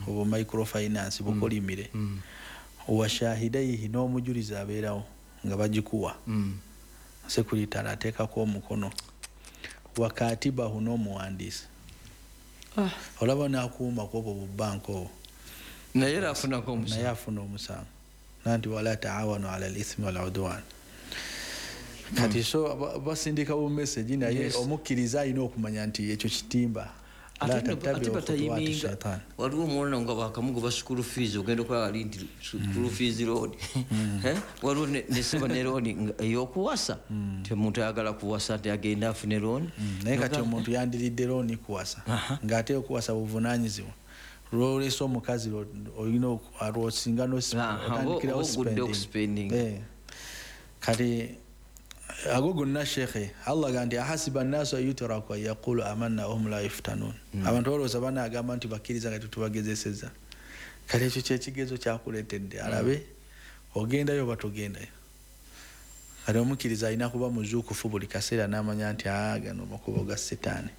Obu microfinance bukolimire. Washahidaihi, n'omujulizi abeerawo nga bagikuwa. Sekuritale ateekako omukono, wakatibahu, n'omuwandiisi. Olaba n'akuuma kwobwo bubanka obwo. Naye era afunako Naye omusango. Afuna omusango nanti wala taawanu ala lithmi waludwan. Kati so basindika bu message, naye omukkiriza alina okumanya nti ekyo kitimba. La Ate tattabiu ate khutuwati batayiminga. shaitan. Waliwo omwana nga bakamugoba school fees, ogenda okulaba ali nti school fees loan. Eh? Waliwo neseba ne loan ey'okuwasa, ti omuntu ayagala kuwasa nti agenda afune loan. Naye kati omuntu yandiridde looni kuwasa, ng'ate okuwasa buvunanyizibwa. Lwolesa omukazi olina lwosinga otandikirawo oba ogudde spending. Okuspending. Eh. Kati ago gonna, shekhe, Allah ga nti ahasiba nnaasu an yutraku an yaqulu amanna wahum la yuftanun. Abantu balowooza banagamba nti bakkiriza nga tetubagezeseza. Kati ekyo kyekigezo kyakuleetedde, alabe ogendayo oba togendayo. Kati omukkiriza alina kuba muzuukufu buli kaseera n'amanya nti aa, gano makubo ga setaani,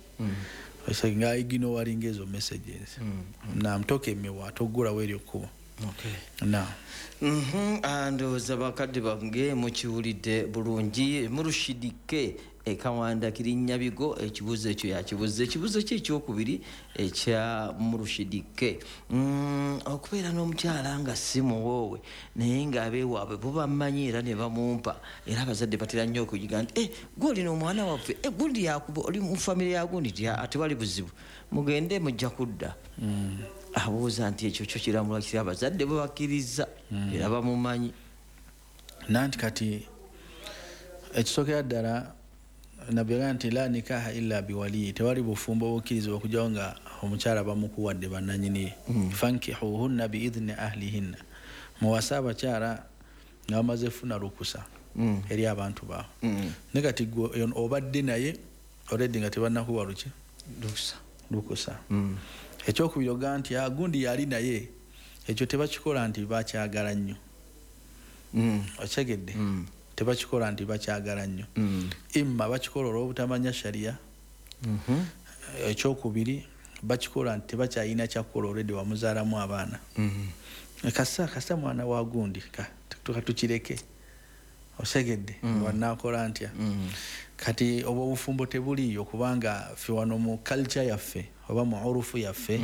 nga ignoringa ezo messages. Nam, tokemebwa, toggulawo eryo kkubo. Nam. Ndowooza bakadde bange mukiwulidde bulungi. Murushidike ekawanda Kirinyabigo, ekibuuzo ekyo yakibuuza. Ekibuuzo kye ekyokubiri ekya Murushidike, okubeera n'omukyala nga si muwoowe, naye ng'abeewaabwe bo bamanyi era ne bamumpa, era abazadde batera nnyo okuyiga nti, "Eh, gwe olina omwana waffe, eh, gundi yakuba oli mu famire ya gundi," ti tewali buzibu, mugende mujja kudda. Abuuza nti ekyo kyo kiramulwa kiri, abazadde bwe bakkiriza era bamumanyi? Nanti kati ekisookera ddala, nabbi yagamba nti la nikaha illa biwaliyi, tewali bufumbo obukkirizibwa okugyawo nga omukyala bamukuwadde bannanyini. Fankihuhunna biidhini ahlihinna, muwase abakyala nga bamaze funa lukusa eri abantu baabwe. Ne kati gwe obadde naye already nga tebannakuwa luki? Lukusa. Lukusa. Ekyokubiri, ogaa nti, "Ah, gundi yali naye," ekyo tebakikola nti bakyagala nnyo. Okyegedde? Tebakikola nti bakyagala nnyo. Imma bakikola olw'obutamanya shariya. Ekyokubiri, bakikola nti tebakyalina kyakukola, already wamuzaalamu abaana. Kasa kasa mwana wa gundi, tukireke. Osegedde? Wanakola ntya? Kati obwo obufumbo tebuliiyo, kubanga ffe wano mu culture yaffe oba mu urufu yaffe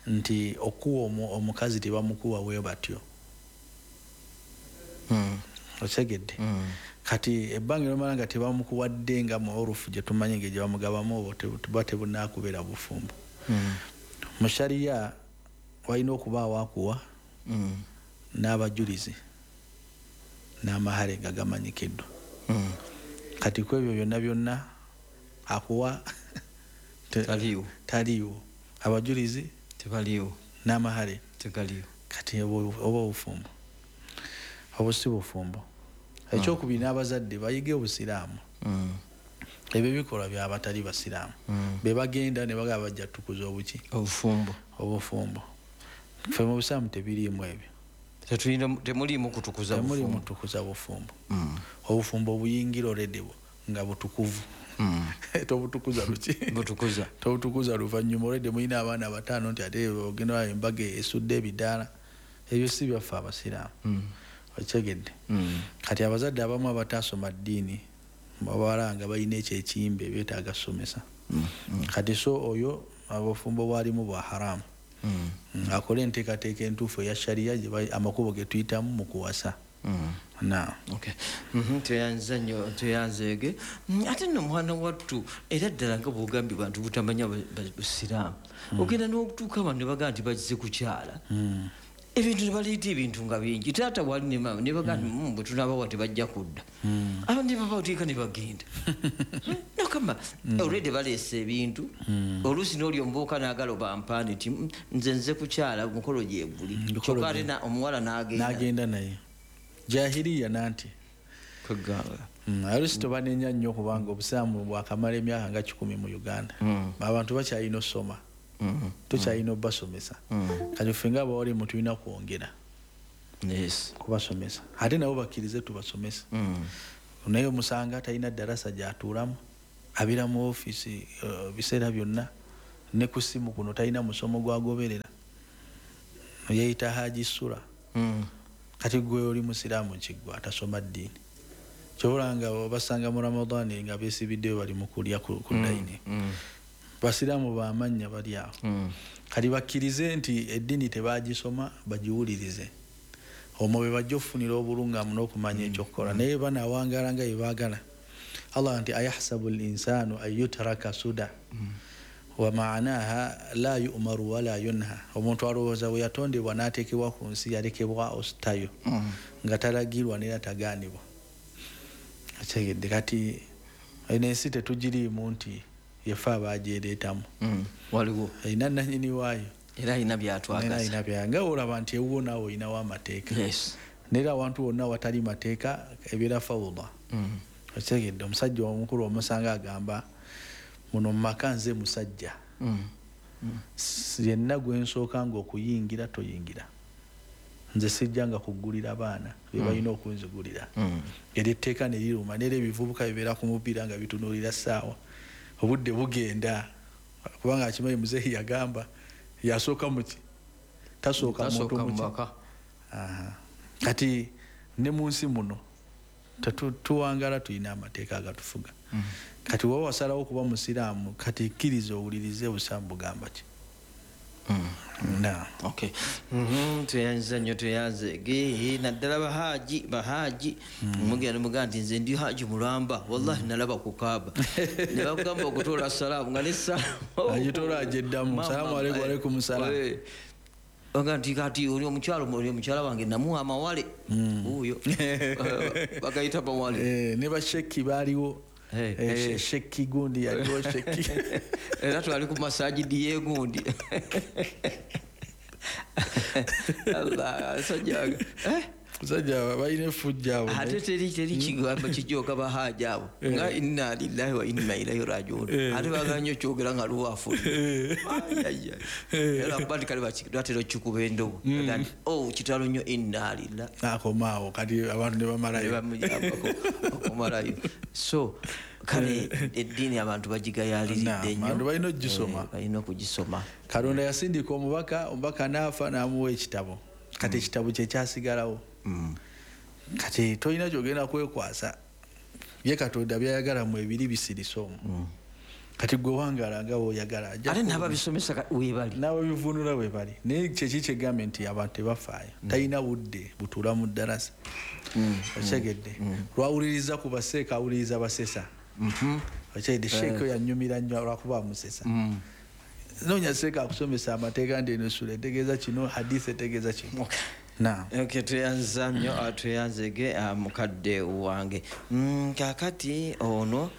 nti okuwa omukazi tebamukuwa bwe batyo. Osegedde? Kati ebbanga lyomala nga tebamukuwadde nga mu urufu gye tumanyi nga gye bamugabamu, obwo buba tebunakubeera bufumbo. Mu shariya walina okubaawo akuwa n'abajulizi n'amahare nga gamanyikiddwa. Kati ku ebyo byonna byonna, akuwa Taliiwo. Taliiwo, abajulizi tebaliiwo, n'amahare tegaliiwo. Kati oba obufumbo obwo si bufumbo. Ekyokubiri, n'abazadde bayige obusiraamu. Ebyo bikolwa byabatali basiraamu, be bagenda ne bagaba bajja tukuza obuki? Obufumbo. Obufumbo. Ffe mu busiraamu tebiriimu ebyo. Temuliimu kutukuza Temulimu bufumbo. Tukuza bufumbo. Obufumbo buyingira already nga butukuvu. Tobutukuza luki? Butukuza. Tobutukuza luvannyuma already mulina abaana bataano nti ate ogenda embaga esudde ebidaala. Ebyo si byaffe abasiraamu. Okyegedde? Kati abazadde abamu abatasoma ddiini babala nga balina ekyo ekiyimba, beetaaga somesa. Kati so oyo obufumbo bwalimu bwa haramu. Akole enteekateeka entuufu eya shariya, amakubo ge tuyitamu mu kuwasa. Na Okay. Tweyanza nnyo, tweyanzeege. Ate nno mwana wattu, era ddala nga bwogambye, bantu butamanya busiraamu, ogenda n'okutuuka abantu ne bagaa nti bazze kukyala, ebintu ne baleeta ebintu nga bingi, taata wali ne maama ne bagaa nti, bwe tunaabawa tebajja kudda." Abantu ne babateeka ne bagenda nokamba already baleese ebintu. Oluusi n'oli omubuuka n'agala obampaane nti, nze nze kukyala, mukolo gyeguli." Mukolo Kyokka ate omuwala n'agenda. N'agenda naye jahiriya nanti. Kwegamba. Oluusi tobanenya nnyo, kubanga obusiraamu bwakamala emyaka nga 100 mu Uganda. Abantu bakyalina osoma, tukyalina obasomesa. Kati ffe nga abawalimu tulina kwongera kubasomesa, ate nabo bakkirize tubasomese. Naye omusanga talina darasa gyatuulamu, abeera mu ofiisi biseera byonna, ne ku simu kuno talina musomo gwagoberera. Yeyita Haji Sura. Kati gwe oli musiraamu kiggwa atasoma ddiini, kyobola nga obasanga mu Ramadani nga beesibiddeyo bali mu kulya ku dayini. Basiraamu bamannya bali awo. Kati bakkirize nti eddiini tebagisoma, bagiwulirize, omwo be bajja okufunira obulungamu n'okumanya ekyokukola. Naye banaawangaala nga bye baagala. Allah nti ayahsabu l insanu an yutraka suda, wa maanaha la yumaru wala yunha. Omuntu alowooza bwe yatondebwa n'ateekebwa ku nsi yalekebwa ositayo nga talagirwa neera tagaanibwa. Okitegedde? Kati eno ensi tetugiriimu nti yefe abagyereetamu. Waliwo erina nanyini waayo. Era alina era byatwagaza. Alina bya nga olaba nti ewuwo naawe olinawo amateeka. Neera awantu wonna watali mateeka ebeera fawuda. Okitegedde? Omusajja omukulu omusanga agamba, muno mu maka nze musajja. Yenna gwe nsooka nga okuyingira toyingira, nze sijja nga kuggulira baana be balina okunzigulira. Eryo etteeka ne liruma. Neera ebivubuka bibeera ku mupiira nga bitunuulira ssaawa, obudde bugenda, kubanga akimanyi muzeeyi yagamba yasooka muki, tasooka muntu tasooka muki. Mubaka. Aha. Kati ne mu nsi muno tuwangala tulina amateeka agatufuga. Kati woba wasalawo okuba musiraamu, kati kkiriza owulirize obusiraamu bugamba ki. Na Okay. Tweyanziza nnyo, tweyanze ge naddala bahaji mugenda mugaa nti nze ndi haji mulamba, wallahi nalaba ku Kaaba ne bakugamba okutoola salaamu nga ne salaamu Agitoola agyeddamu. Mama, Salaamu alaikum, alaikum salaam. Oga nti kati oli omukyalo, oli omukyala wange namuwa amawale wuuyo. Bagayita mawale. Ne basheki baaliwo. Sheki gundi yaliwo sheki. Era twali ku masajidi yegundi. Allah, sajja Musajja balina effujja abo. Ate teri kigambo kijooka bahaja abo nga inna lillahi wa inna ilaihi rajiun. Ate bagala nnyo kyogera nga luwafu. Era kuba nti kale batera okikuba endobo. Aga nti, oh, kitalo nnyo, inna lillahi. Akomaawo kati abantu ne bamalayo. Ne bamujambako okumalayo. So kale eddiini abantu bagigayaliridde nnyo. Abantu balina okugisoma. Balina okugisoma. Katonda yasindika omubaka, omubaka n'afa n'amuwa ekitabo. Kati ekitabo kye kyasigalawo. Kati tolina ky'ogenda kwekwasa. Ye Katonda by'ayagala mu ebiri bisirise omwo. Kati gwe wangaala nga bw'oyagala. Ajja Ate n'ababisomesa weebali. N'ababivvuunula weebali. Naye kyeki kyegambye nti abantu tebafaayo. Talina budde butuula mu ddarasa. Okitegedde? Lwawuliriza ku baseeka, awuliriza basesa. Okitegedde? Sheeka oyo annyumira nnyo lwakuba amusesa. Noonya seeka akusomesa amateeka nti eno essula etegeeza kino, hadith etegeeza kino. Naam. Okay, tweyanza nnyo, tweyanzege, mukadde wange. Kaakati ono,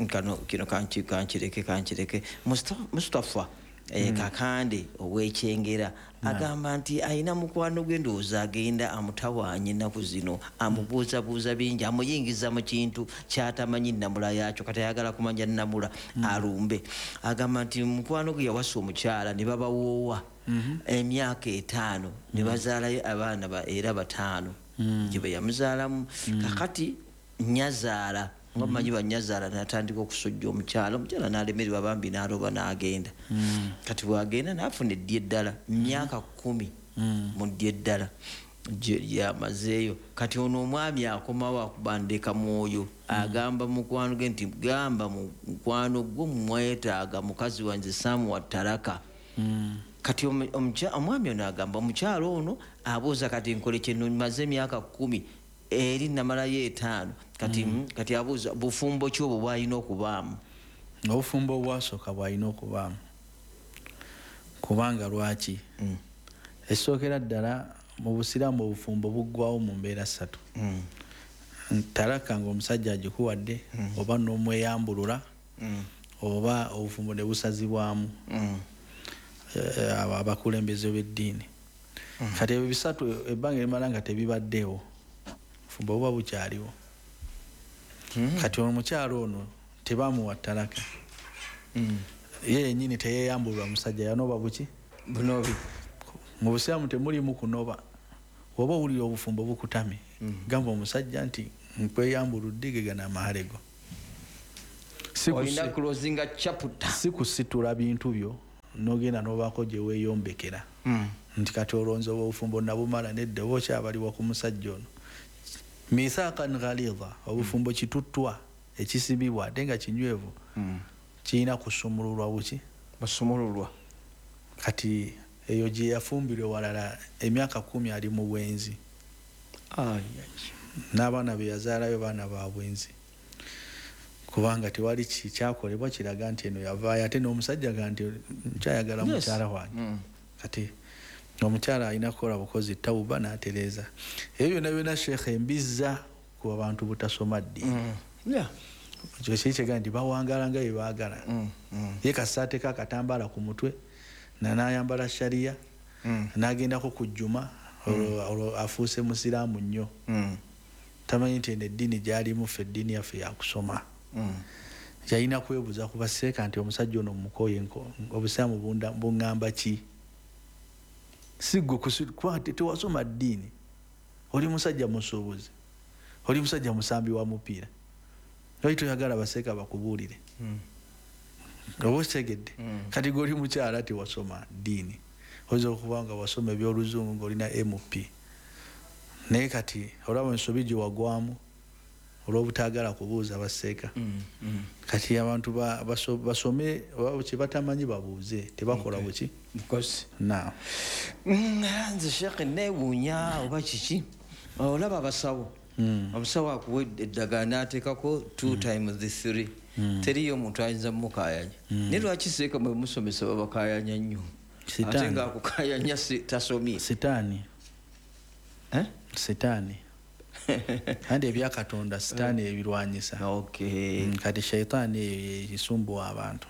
kano, kino kankireke. Mustafa, Kakande ow'Ekyengera agamba nti alina mukwano gwe, ndowooza agenda amutawaanya ennaku zino, amubuuzabuuza bingi, amuyingiza mu kintu ky'atamanyi nnamula yaakyo, kati ayagala kumanya nnamula alumbe. Agamba nti mukwano gwe yawasa omukyala ne babawoowa emyaka 5 ne bazaalayo abaana era 5 gye be yamuzaalamu. Kakati nnyazaala, nga mumanyi bannyazaala, n'atandika okusojja omukyala, omukyala n'alemererwa bambi n'aloba n'agenda. Kati bw'agenda n'afuna eddi eddala, myaka 10 mu ddi eddala gye yamazeeyo. Kati ono omwami akomawo akuba ndeka mwoyo, agamba mukwano gwe nti gamba mukwano gwo mwetaaga mukazi wange Samuwa Taraka. Kati omwami ono agamba omukyala ono abuuza kati nkole kye maze emyaka 10 eri namalayo 5. Kati abuuza bufumbo ki obwo bw'alina okubaamu? Obufumbo obwasooka bw'alina okubaamu. Kubanga lwaki? Ekisookera ddala mu busiraamu obufumbo buggwawo mu mbeera 3. Talaka ng'omusajja agikuwadde, oba n'omweyambulula, oba obufumbo ne busazibwamu. Abakulembeze b'eddiini. Kati ebyo bisatu ebbanga erimala nga tebibaddeewo, obufumbo buba bukyaliwo. Kati omukyala ono tebamuwa talaka. Ye yennyini teyeeyambulwa musajja, yanoba buki? Bunobi. Mu busiraamu temulimu kunoba. Oba owulira obufumbo bukutamye, gamba omusajja nti nkweyambuludde ge gano amahale go. Olina closing chapter. Si kusitula bintu byo Nogenda n'obaako gye weeyombekera. Nti kati olonze obufumbo nabumala, nedda, oba okyabaliwa ku musajja ono. Mithaqan ghalidha, obufumbo kituttwa ekisibibwa ate nga kinywevu, kirina kusumululwa buki? Basumululwa. Kati eyo gye yafumbirwa walala emyaka 10 ali mu bwenzi. N'abaana be yazaalayo baana ba bwenzi, kubanga tewali kyakolebwa kiraga nti eno yavaayo, ate n'omusajja ga nti nkyayagala mukyala wange. Kati omukyala alina kukola bukozi tawuba n'atereeza. Ebyo byonna byonna Sheikh embizza ku bantu butasoma ddiini. Ekyo kiri kyegamba nti bawangaala nga bye baagala. Ye kasita ateeka akatambaala ku mutwe, n'ayambala sharia, n'agendako ku jjuma, olwo afuuse musiraamu nnyo. Tamanyi nti eno eddiini gy'alimu ffe eddiini yaffe yakusoma. Yalina kwebuuza ku baseeka nti omusajja ono mukooye, obusiraamu buŋŋamba ki? Si ggwe kuba tewasoma ddiini, oli musajja musuubuzi, oli musajja musambi wa mupiira, oli toyagala baseeka bakubuulire. Oba okitegedde? Kati gwe oli mukyala tewasoma ddiini, oyinza okuba nga wasoma ebyoluzungu ng'olina MP, naye kati olaba ensobi gye wagwamu olw'obutaagala kubuuza baseeka. Kati abantu basome kye batamanyi babuuze, tebakola buki? Nze Sheikh neewuunya oba kiki, olaba abasawo, omusawo akuwa eddagala n'ateekako 2 times 3, teriyo omuntu ayinza mmukaayanya. Naye lwaki seeka mwe musomesa babakaayanya nnyo? Ate ng'akukaayanya tasomye. Sitaani. Sitaani. Andi ebya Katonda sitaani ebirwanyisa. Kati shaitaani eyo esumbuwa abantu.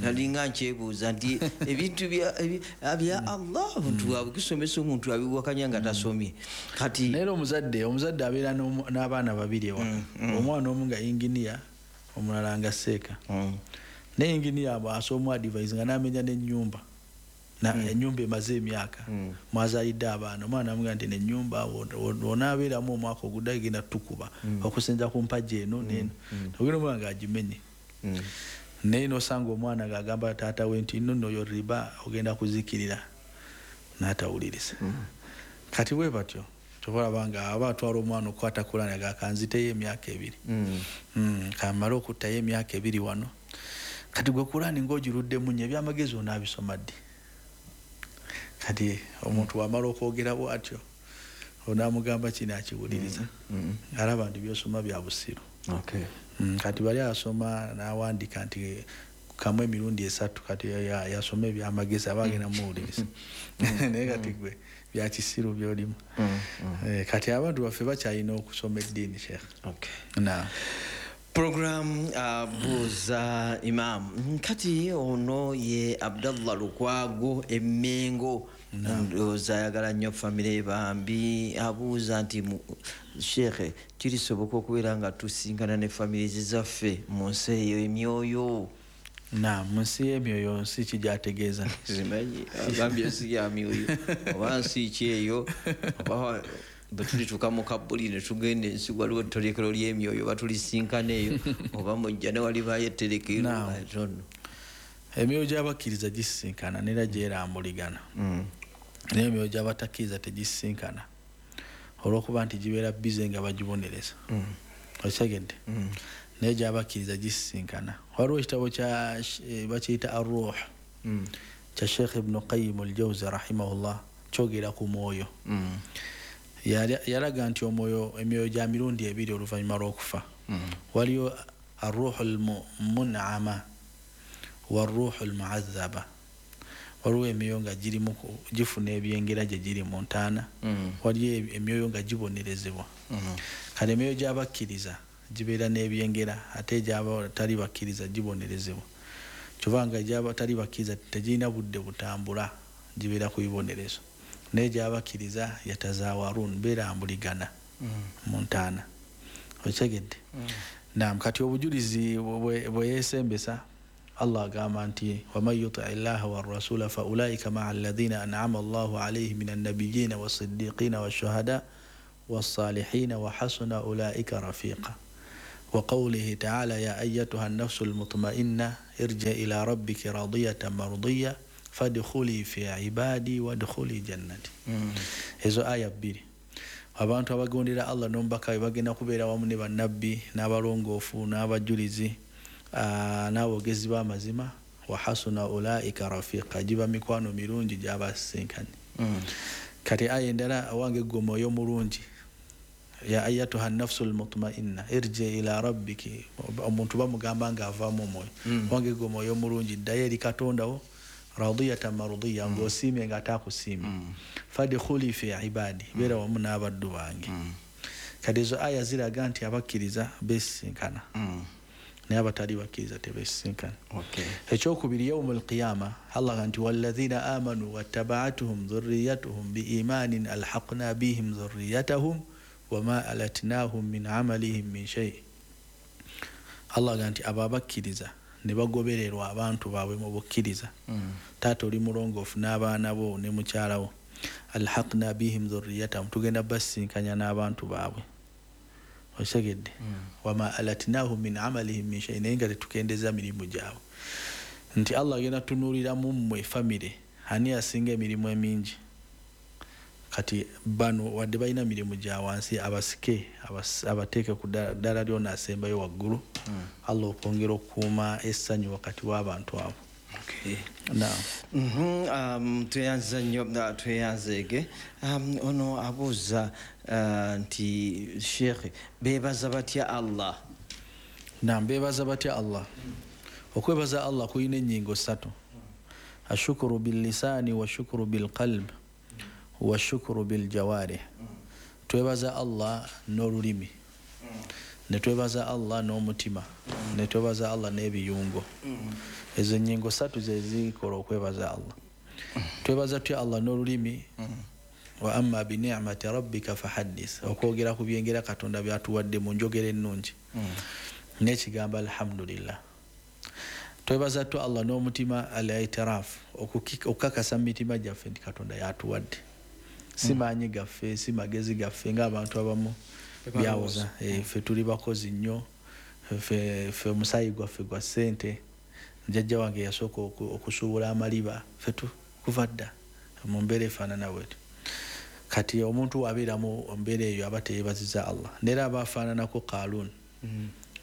Nalinga nkyebuuza nti ebintu bya Allah omuntu abisomesa omuntu abiwakanya nga tasomye. Kati naye omuzadde abeera n'abaana babiri ewaka, omwana omu nga inginiya, omulala nga seeka. Naye inginiya asoma advice nga n'amenya n'ennyumba. Ennyumba emaze emyaka mwazaalidde abaana, omwana amugamba nti n'ennyumba onaabeeramu omwaka oguddayo egenda tukuba okusinza ku mpagi eno n'eno, ogenda omwana ng'agimenye. Naye n'osanga omwana ng'agamba taata we nti nno oyo riba ogenda kuzikirira, n'atawuliriza. Kati bwe batyo tobalaba nga aba atwala omwana okukwata Kulaani aga kanziteyo emyaka 2, kamale okuttayo emyaka 2 wano. Kati gwe Kulaani ng'ogiruddemu nnyo, ebyamagezi onaabisoma ddi? Kati omuntu wamala okwogera bw'atyo onaamugamba kino akiwuliriza, alaba nti by'osoma bya busiru. Kati bali asoma n'awandiika nti kamu emirundi 3, kati yasoma ebyamagezi aba agenda muwuliriza. Naye kati gwe bya kisiru by'olimu. Kati abantu baffe bakyalina okusoma eddiini Sheikh. Program Buuza Imam. Kati ono ye Abdallah Lukwago Emmengo, ndowooza ayagala nnyo famire bambi. Abuuza nti Sheikh, kirisoboka okubeera nga tusinkana ne famire zaffe mu nsi eyo emyoyo? Na mu nsi y'emyoyo nsi ki gy'ategeeza? Simanyi, agambye ensi ya myoyo oba nsi ki eyo, oba bwe tulituuka mu kabbuli ne tugenda ensi waliwo etterekero ly'emyoyo batulisinkana eyo, oba mujja ne walibaayo etterekero. Emyoyo gy'abakkiriza gisisinkana n'era gyerambuligana, naye emyoyo gy'abatakkiriza tegisisinkana olw'okuba nti gibeera bize nga bagibonereza. Okitegedde? Naye gy'abakkiriza gisisinkana. Waliwo ekitabo kya bakiyita Ar-Ruh kya Sheikh Ibn Qayyim al-Jawzi rahimahullah, kyogera ku mwoyo. Yalaga nti omwoyo emyoyo gya mirundi ebiri oluvannyuma lw'okufa. Waliyo arruhu almun'ama warruhu almu'azzaba. Waliwo emyoyo nga girimu gifuna ebyengera gye giri mu ntaana, waliyo emyoyo nga gibonerezebwa. Kale emyoyo gy'abakkiriza gibeera n'ebyengera, ate egy'abatali bakkiriza gibonerezebwa. Kyova nga egy'abatali bakkiriza tegirina budde butambula, gibeera ku bibonerezo. Naye egy'abakkiriza yatazawarun, beerambuligana mu ntaana. Okitegedde? Naam, kati obujulizi bwe yeesembesa Allah agamba nti waman yuti llaha warrasula fa ulaika maa alladhina an'ama Allahu alayhim minan nabiyyina wassiddiqina washuhada wassalihina wa hasuna ulaika rafiqa. Wa qawlihi ta'ala ya ayyatuha an-nafsu al-mutma'inna Irji ila rabbiki radiyatan mardiya fadkhuli fi ibadi wadkhuli jannati. Ezo aya bbiri. Abantu abagondera Allah n'omubaka we bagenda kubeera wamu ne bannabbi n'abalongoofu n'abajulizi n'aboogezi b'amazima. Wa hasuna ulaika rafiqa, giba mikwano mirungi gy'abasisinkanye. Kati aya endala, awange ggwe omwoyo mulungi, ya ayatuha nafsu lmutmainna irji ila rabbiki. Omuntu bamugamba nga avaamu omwoyo, wange ggwe omwoyo mulungi, ddayo eri Katonda wo radiyatan mardiya, ng'osiimye nga ataakusiimye, fadkhuli fi ibadi, beera wamu n'abaddu bange. Kati ezo aya ziraga nti abakkiriza besisinkana, naye abatali bakkiriza tebesisinkana. Ekyokubiri, yaumu lqiyama, Allah nti walladhina amanu wattabaatuhum dhurriyatuhum biimanin alhaqna bihim dhurriyatahum wama alatnahum min amalihim min shay. Allah ga nti abo abakkiriza ne bagobererwa abantu baabwe mu bukkiriza, taata oli mulongoofu n'abaana bo ne mukyala wo, alhaqna bihim dhurriyatahum, tugenda basisinkanya n'abantu baabwe. Okitegedde? Wama alatnahum min amalihim min shay, naye nga tetukendeza mirimu gyabwe. Nti Allah agenda tunuuliramu mmwe famire ani asinga emirimu emingi. Kati bano wadde balina mirimu gya wansi, abasike abateeke ku ddala lyona asembayo waggulu, Allah okwongera okukuuma essanyu wakati w'abantu abo. Tweyanza nnyo, tweyanzeege. Ono abuuza nti sheekhe, beebaza batya Allah? Naam, beebaza batya Allah? Okwebaza Allah kulina ennyingo ssatu: ashukuru billisaani, washukuru bilqalb, washukuru biljawarih. Twebaza Allah n'olulimi, ne twebaza Allah n'omutima, ne twebaza Allah n'ebiyungo. Ezo ennyingo ssatu ze zikola okwebaza Allah. Twebaza tutya Allah n'olulimi? Wa amma binicmati rabbika fahaddis, okwogera ku byengera Katonda byatuwadde mu njogera ennungi n'ekigambo alhamdulillah. Twebaza tutya Allah n'omutima? Al itiraf, okukakasa mu mitima gyaffe nti Katonda yatuwadde, si maanyi gaffe, si magezi gaffe ng'abantu abamu byawoza. Ffe tuli bakozi nnyo, ffe omusaayi gwaffe gwa ssente, jjajja wange yasooka okusuubula amaliba, ffe kuva dda mu mbeera efaanana bwetyo. Kati omuntu wabeera mu mbeera eyo aba teyeebaziza Allah. Neera aba afaananako Kalun.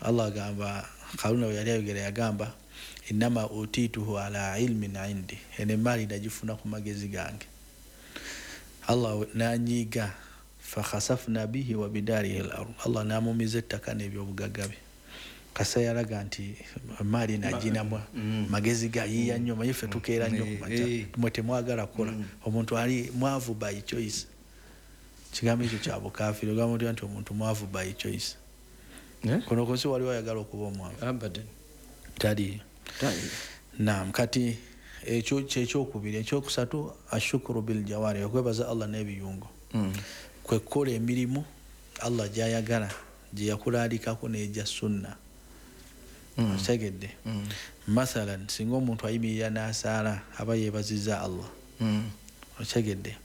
Allah agamba Kaluna bwe yali ayogera yagamba innama utituhu ala ilmin indi, eno emaali nagifuna ku magezi gange. Allah nanyiiga, fakhasafna bihi wa bidarihi al ard, Allah namumiza ettaka n'ebyobugagga bye. Kasa yalaga nti emaali naginamu magezi gayiiya nnyo, manyi ffe tukeera nnyo ku makya, mwe temwagala kukola. Omuntu ali mwavu by choice, kigambo ekyo kya bukaafiri. Ogamba otya nti omuntu mwavu by choice? Kuno ku nsi waliwo ayagala okuba omwavu? Taliyo. Naam, kati ekyo kyekyokubiri. Ekyokusatu, ashukuru biljawari, okwebaza Allah n'ebiyungo, kwe kukola emirimu Allah gy'ayagala, gye yakulaalikako n'egya sunna. Okitegedde? Mathalan, singa omuntu ayimirira n'asaala aba yeebaziza Allah. Okitegedde?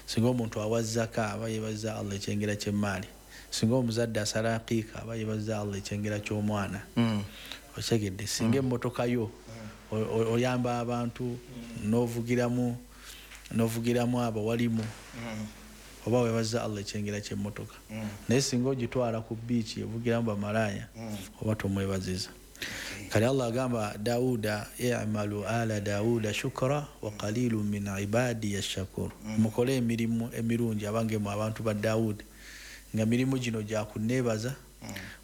Singa omuntu awa zaka aba yeebaziza Allah ekyengera ky'emmaali. Singa omuzadde asala aqiika aba yeebaziza Allah ekyengera ky'omwana. Okitegedde? Singa emmotoka yo oyamba abantu n'ovugiramu abo walimu, oba weebaziza Allah ekyengera ky'emmotoka. Naye singa ogitwala ku biiki evugiramu bamalaaya, oba tomwebaziza. Kale Allah agamba Dawuda, i'malu ala Dawuda shukra wa qalilun min ibadiya shakur. Mukole emirimu emirungi abange mu abantu ba Dawudi, nga mirimu gino gya kunneebaza,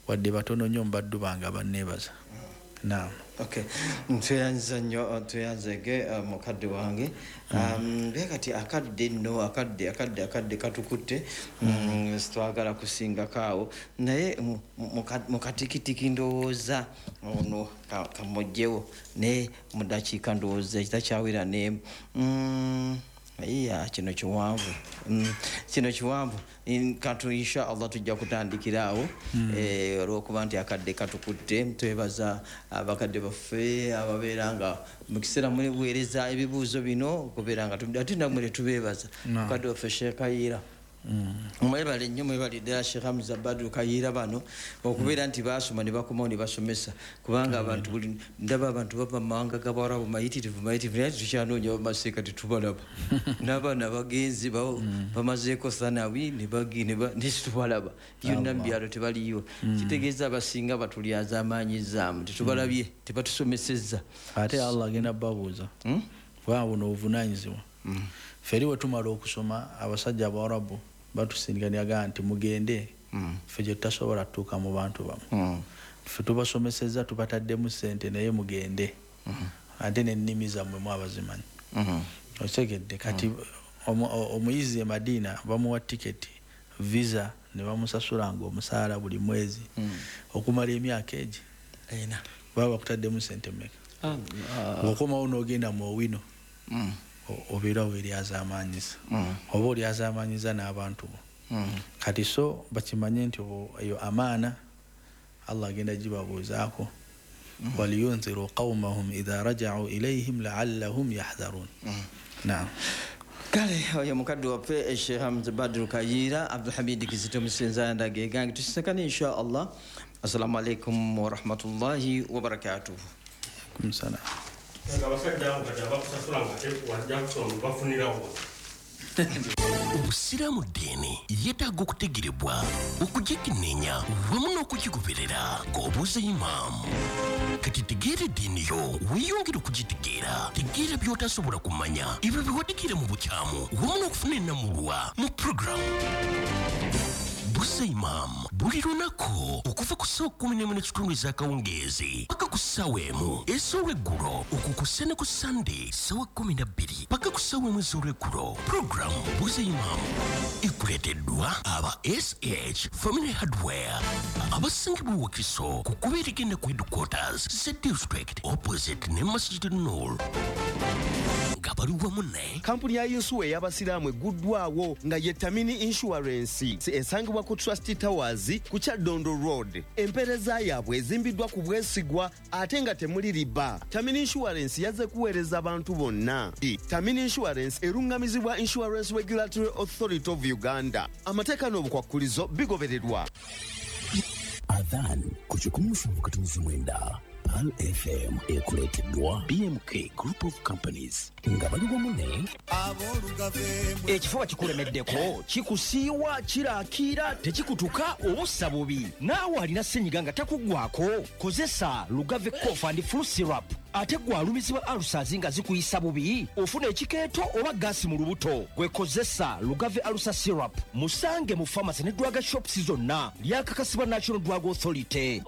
wadde batono nnyo mu baddu bange abanneebaza. Naam. Okay, tweyanza nnyo, tweyanzege mukadde wange. Naye kati akadde nno, akadde katukutte, twagala kusingako awo, naye mukatikitiki ndowooza ono kamugyewo, naye mu ddakiika ndowooza ekitakyawera n'emu. Iya, kino kiwanvu. Kino kiwanvu. Katu insha Allah tujja kutandikira awo. Olw'okuba nti akadde katukutte, twebaza abakadde baffe ababeera nga mu kiseera muweereza ebibuuzo bino okubeera nga ate nammwe ne tubeebaza. Mukadde waffe Sheikh Kayiira. Mwebale nnyo, mwebale ddala Sheikh Hamza Badru Kayiira bano okubeera nti baasoma ne bakomawo ne basomesa, kubanga abantu buli ndaba abantu bava mu mawanga g'Abawarabu mayitirivu mayitirivu, naye tukyanoonya bamaseeka tetubalaba. N'abaana bagenzi bamazeeko thanawi ne situbalaba yonna mu byalo tebaliyo. Kitegeeza abasinga batulyaza amaanyizaamu, tetubalabye, tebatusomesezza. Ate Allah agenda babuuza kubanga buno obuvunaanyizibwa. Ffe eri bwe tumala okusoma, abasajja Abawarabu batusindika nti mugende, ffe gye tutasobola tutuuka mu bantu bamu. Ffe tubasomesezza, tubataddemu ssente, naye mugende ate n'ennimi zammwe mwabazimanyi. Okitegedde? Kati omuyizi e Madiina bamuwa tiketi, visa, ne bamusasulanga omusaala buli mwezi okumala emyaka egi baba bakutaddemu ssente mmeka? Ng'okomawo n'ogenda mu Owino, obeera weeryazaamaanyiza oba olyazaamaanyiza n'abantu bo. Kati so bakimanye nti eyo amaana Allah agenda gibabuuzaako. Waliyunziru qawmahum idha raja'u ilayhim la'allahum yahdharun. Naam. Kale oyo mukadde waffe Sheikh Hamza Badru Kayiira, Abdulhamid Kizito Musenza ndaga egange, tusisekane insha Allah. Assalamu alaikum warahmatullahi wabarakatuh. Kumsala. Abasajja abo kati abakusasula nga wajja kusoma bafunirawo. Obusiraamu ddiini yeetaaga okutegerebwa, okugikenneenya wamu n'okugigoberera ng'obuuza imaamu. Kati tegeera eddiini yo, weeyongere okugitegeera. Tegeera by'otasobola kumanya, ebyo bye wategeera mu bukyamu wamu n'okufuna ennamulwa mu puroguramu Buuza Imaamu buli lunaku okuva ku ssaawa 11:15 ez'akawungeezi paka ku ssaawa 1 ez'olweggulo, okukussa ne ku Sande ssaawa 12 paka ku ssaawa 1 ez'olweggulo. Puroguramu Buuza Imaamu ekuleeteddwa aba SH Family Hardware abasangibwa Wakiso ku kkubo erigenda ku headquarters za district opposite ne Masjid Nur, nga bali wamu ne kampuni ya yinsuwa ey'abasiraamu egguddwawo nga ye Tamini Insurance, esangibwa ku Trust Towers ku Kyaddondo Road. Empeereza yaabwe ezimbiddwa ku bwesigwa ate nga temuli riba. Tamini Insurance yazze kuweereza abantu bonna. Tamini Insurance eruŋŋamizibwa Insurance Regulatory Authority of Uganda. Amateeka n'obukwakkulizo bigobererwa. Adhan ku 107.9 Pearl FM ekuleeteddwa BMK Group of Companies nga bali wamu ne Ekifuba kikulemeddeko, kikusiiwa, kiraakiira, tekikutuka, obussa bubi. Naawe alina ssenyiga nga takuggwako, kozesa Lugave Cough and Flu Syrup. Ate gwe alumizibwa ulcers nga zikuyisa bubi, ofuna ekikeeto oba gaasi mu lubuto, gwe kozesa Lugave Ulcer Syrup. Musange mu pharmacy ne drug shops zonna. Lyakakasibwa National Drug Authority.